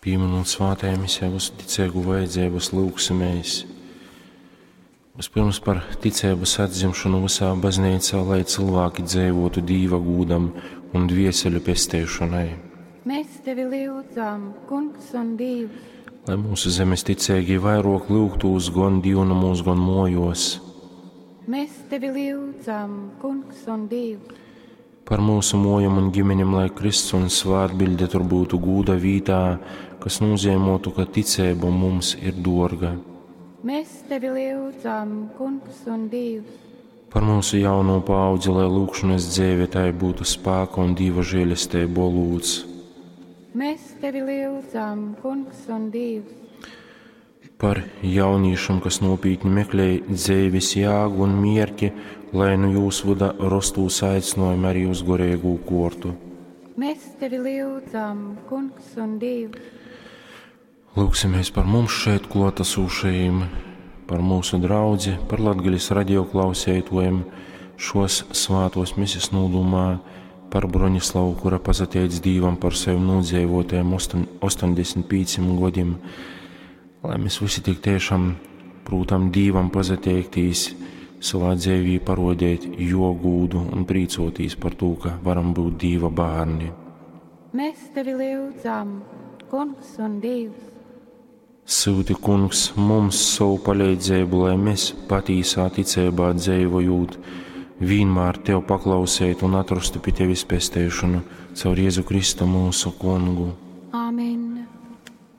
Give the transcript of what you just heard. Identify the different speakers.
Speaker 1: Pīminūt svātajā misē visu ticīgu vajadzības, lūgsimies. Vispirms par ticeibas atzimšanu visā baznīcā, lai cilvēki dzīvotu Dīva gūdam un dvieseļu pesteišanai.
Speaker 2: Mēs tevi lyudzam, Kungs un Dievs.
Speaker 1: Lai mūsu zemes ticīgi vairāk lūgtūs gan divnamos, gan mojos.
Speaker 2: Mēs tevi lyudzam, Kungs un Dievs.
Speaker 1: Par mūsu mojam un ģimeņam, lai Kristus un svētbilde tur būtu gūda vītā, kas nozīmotu, ka ticība mums ir dorga.
Speaker 2: Mēs tevi lyudzam, Kungs un Dievs.
Speaker 1: Par mūsu jauno paudzi, lai lūgšanas dzīve tai būtu spēka un Dieva žēlestība lūdz.
Speaker 2: Mēs tevi lyudzam, Kungs un Dievs.
Speaker 1: Par jauniešiem, kas nopietni meklē dzīves jēgu un mierki, lai nu jūs vada rostūs aicinājumi arī uz gorēgu kortu.
Speaker 2: Mēs tevi lyudzam, Kungs un Dievs.
Speaker 1: Lūksimies par mums šeit klātesošajiem, par mūsu draudzi, par Latgaļas radioklausētojiem šos svātos mises nūdumā, par Bronislavu, kura pasateic Dīvam par sevi nodzīvotajiem 85 gadiem, lai mēs visi tik tiešām prūtam Dīvam pazateikties, savā dzīvī parodēt jo gūdu un prīcotīs par to, ka varam būt Dīva bērni.
Speaker 2: Mēs tevi lyudzam, Kungs un Dievs.
Speaker 1: Sūti, kungs, mums savu palīdzību, lai mēs patīsā ticībā dzīvojot, vienmēr Tev paklausētu un atrastu pie Tevis pesteišanu caur Jēzu Kristu mūsu kungu.